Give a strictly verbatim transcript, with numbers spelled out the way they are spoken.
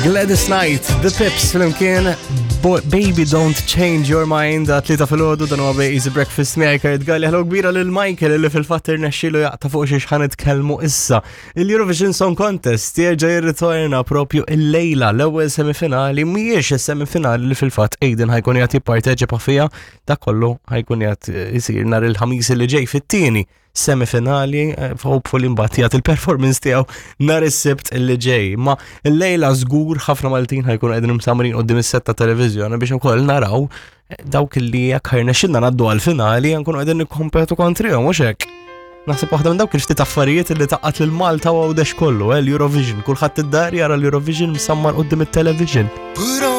Gladys Knight, The Pips flimkien, Bo Baby Don't Change Your Mind, għat-tlieta filgħodu, dan huwa Easy Breakfast miegħi Kurt Galli. Hello kbira lil Michael li fil-fatt irnexxielu jaqta' fuq xiex ħa nitkellmu issa. Il-Eurovision Song Contest jerġa' jirritorna propju il-lejla. L-ewwel semifinali mhijiex is-semifinali li fil-fatt Aiden ħa jkun qiegħed jipparteċipa fiha, dak kollu ħa jkun qiegħed isir nhar il-Ħamis li ġej fit-tieni semifinali, eh, hopefully mbagħad jagħti il-performance tiegħu nhar is-Sibt li ġej. Ma l-lejla żgur ħafna Maltin ħa jkunu qegħdin msamrin quddiem is-setta televiżjoni biex ukoll naraw eh, dawk li jekk ħa jirnexxilna ngħaddu għal-finali nkunu qegħdin nikkompetu kontrihom, mhux hekk? Naħseb waħda minn dawk il-ftit affarijiet li tgħaqqad lil Malta u Għawdex kollu, eh, l-Eurovision. Kulħadd id-dar jara l-Eurovision msammar quddiem it-television. Put